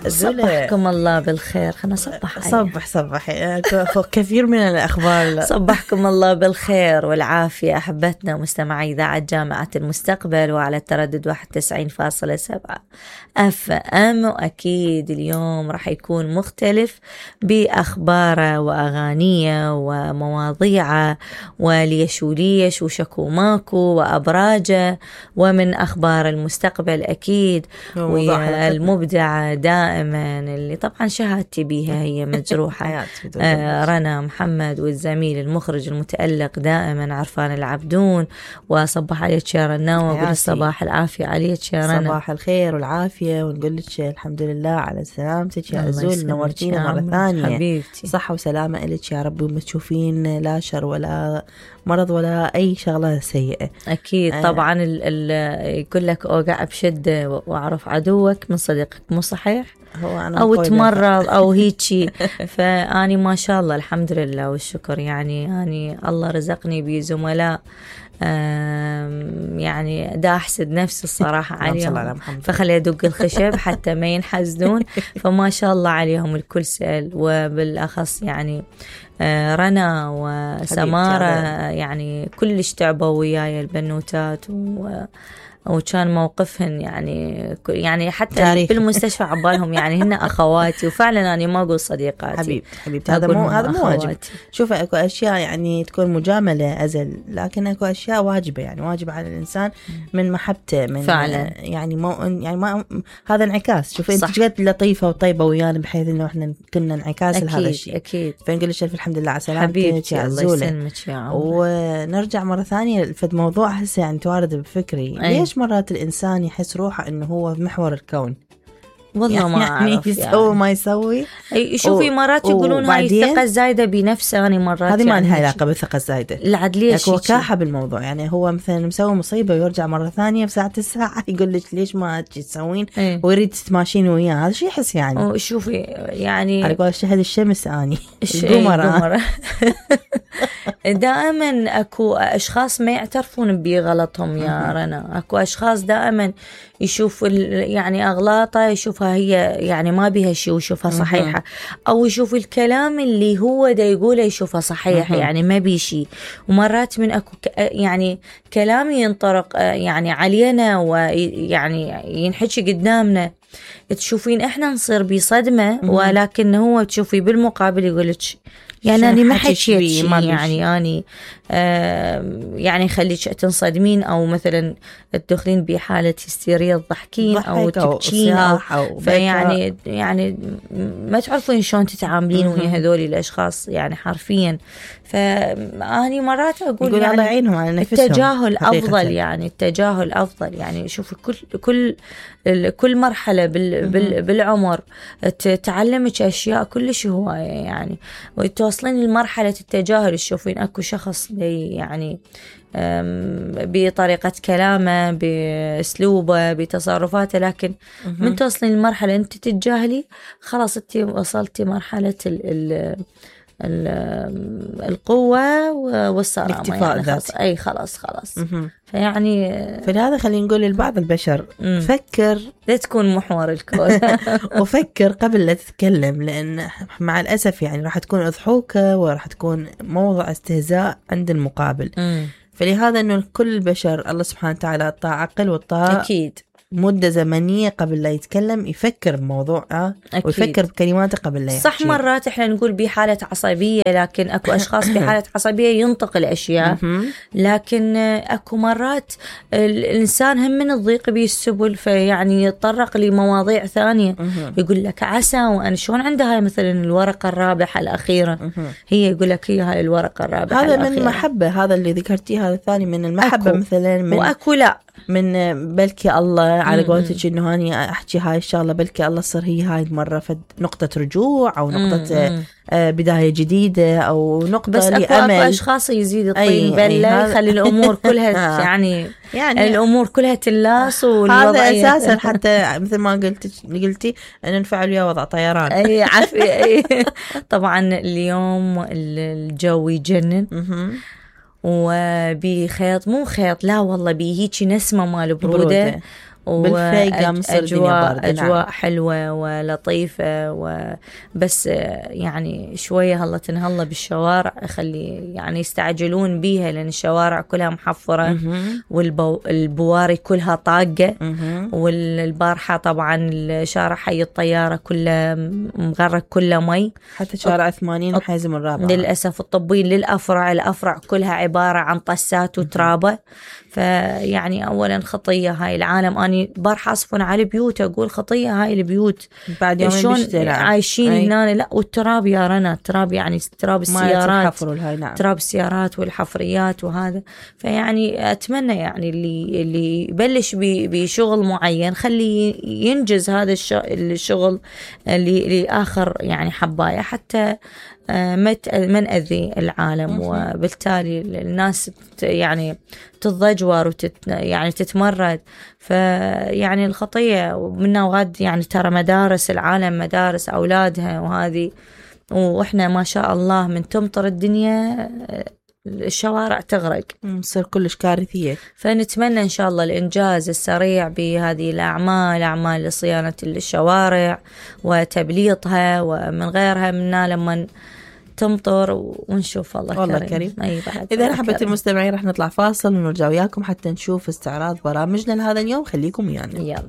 صبحكم الله بالخير. خلنا نصبح. صبح كثير من الأخبار. صبحكم الله بالخير والعافية أحبتنا مستمعي إذاعة جامعة المستقبل وعلى التردد 91.7 FM. وأكيد اليوم راح يكون مختلف بأخباره وأغانيه ومواضيعه وليش وليش وشكو ماكو وأبراجه ومن أخبار المستقبل أكيد. والمبدعة دائما اللي طبعا شهادتي بيها هي مجروحة رنا محمد، والزميل المخرج المتألق دائما عرفان العبدون. وصبح عليك يا رنا وقول الصباح العافية عليك يا رنا. صباح الخير والعافية ونقول لك الحمد لله على سلامتك يا أزول. نورتينا مرة ثانية حبيبتي. صحة وسلامة إلك يا رب وما تشوفين لا شر ولا مرض ولا أي شغلة سيئة. أكيد طبعا يقول لك أوقع بشدة وأعرف عدوك من صديقك، مو صحيح؟ أو تمرض أو هيجي. فأني ما شاء الله الحمد لله والشكر يعني الله رزقني بزملاء يعني دا أحسد نفسي الصراحة عليهم، فخلي أدق الخشب حتى ما ينحزنون. فما شاء الله عليهم الكل سأل، وبالأخص يعني رنا وسمارة يعني كلش تعبوا وياي البنوتات وكان موقفهن يعني حتى تاريخ. بالمستشفى عبالهم يعني هن أخواتي، وفعلا أنا ما أقول صديقاتي حبيبتي هذا مو واجب. شوف أكو أشياء يعني تكون مجاملة أزل، لكن أكو أشياء واجبة يعني واجب على الإنسان من محبته من فعلا يعني ما هذا انعكاس. شوف أنت جد لطيفة وطيبة ويانا بحيث إنه إحنا كنا انعكاس لهذا الشيء. أكيد فنقول لك الحمد لله على سلامتك يا عزولة. ونرجع مرة ثانية في موضوع هسه يعني توارد بفكري. ليش مرات الإنسان يحس روحه إنه هو محور الكون؟ والله ما أعرف يسوي ما يسوي. شوفي مرات يقولون هاي الثقة الزايدة بنفسه. أنا مرات هذه ما لها علاقة بالثقة الزايدة، العدلية هو كاحة بالموضوع. يعني هو مثلا مسوي مصيبة ويرجع مرة ثانية بساعة الساعة يقول لك ليش ما تسوين ويريد تتماشين وياه. هذا شيء يحس يعني شوفي يعني على قول شهد الشمس أني القمر. دائما أكو أشخاص ما يعترفون بغلطهم يا رنا. أكو أشخاص دائما يشوف يعني أغلاطه يشوفها هي يعني ما بيها شيء ويشوفها صحيحة، أو يشوف الكلام اللي هو دا يقوله يشوفها صحيح يعني ما بي شيء. ومرات من أكو يعني كلام ينطرق يعني علينا ويعني ينحكي قدامنا تشوفين إحنا نصير بصدمة، ولكن هو تشوفي بالمقابل يقولك يعني أنا ما حكيت شيء يعني أني يعني خليك تنصدمين أو مثلا تدخلين بحالة هستيريا تضحكين أو تبكين أو يعني ما تعرفين شلون تتعاملين ويا هذول الأشخاص يعني حرفيا. فأني مرات أقول يعني الله يعينهم على نفسهم. التجاهل أفضل يعني التجاهل أفضل يعني. شوفي كل مرحلة بالعمر تعلمك أشياء كلش هواية يعني، وتوصلين لمرحلة التجاهل. تشوفين أكو شخص يعني بطريقة كلامه بأسلوبه بتصرفاته، لكن من توصلين لمرحلة أنت تتجاهلي خلاص أنت وصلتي مرحلة القوة والصرامة يعني خلاص. فيعني فلهذا خلينا نقول لبعض البشر فكر لا تكون محور الكون وفكر قبل لا تتكلم، لأن مع الأسف يعني راح تكون أضحوكة وراح تكون موضع استهزاء عند المقابل. فلهذا أنه كل البشر الله سبحانه وتعالى أعطاه عقل وأعطاه أكيد مدة زمنية قبل لا يتكلم يفكر بموضوع ويفكر بكلماته قبل لا يحكي. صح مرات احنا نقول بحالة عصبية، لكن اكو اشخاص بحالة عصبية ينطق الاشياء، لكن اكو مرات الانسان هم من الضيق بالسبل فيعني يتطرق لمواضيع ثانية. يقول لك عسى وأنا شلون عندها مثلا الورقة الرابحة الأخيرة، هي يقول لك هي هاي الورقة الرابحة هذا الأخيرة. من محبة، هذا اللي ذكرتيه هذا الثاني من المحبة أكو. مثلا من وأكو لا من بلكي الله على قولتك انه هاني احكي هاي الشغله بلكي الله تصير هي هاي المره نقطه رجوع او نقطه بدايه جديده او نقطه بس لامل. اكو اشخاص يزيد الطين بله يخلي الامور كلها يعني الامور كلها تلاص. هذا اساسا حتى مثل ما قلتي ان نفعل ويا وضع طيران. اي عافيه. طبعا اليوم الجو يجنن وبخيط مو خيط لا والله بهيجي نسمة مال برودة بالفيقة مصر أجواء حلوة ولطيفة بس يعني شوية هلا تنهلا بالشوارع خلي يعني يستعجلون بيها لأن الشوارع كلها محفرة والبواري كلها طاقة والبارحة طبعا الشارع حي الطيارة كله مغرق كله مي حتى شارع 80 حازم الرابعة للأسف الطبين الأفرع كلها عبارة عن طسات وترابة فيعني أولا خطية هاي العالم أني بارحة أصفن على بيوت أقول خطية هاي البيوت بعد يومين شلون عايشين هنا لا والتراب يا رنا التراب يعني تراب السيارات تراب السيارات والحفريات وهذا فيعني أتمنى يعني اللي يبلش بشغل معين خلي ينجز هذا الشغل اللي لآخر يعني حباية حتى ما نأذي العالم وبالتالي الناس يعني تتضجور يعني تتمرد فيعني الخطية منا وغد يعني ترى مدارس العالم مدارس أولادها وهذه وإحنا ما شاء الله من تمطر الدنيا الشوارع تغرق تصير كلش كارثية فنتمنى إن شاء الله الإنجاز السريع بهذه الأعمال أعمال لصيانة الشوارع وتبليطها ومن غيرها منا لما تمطر ونشوف الله كريم. إذا حبيت المستمعين رح نطلع فاصل ونرجع وياكم حتى نشوف استعراض برامجنا لهذا اليوم خليكم ويانا يلا.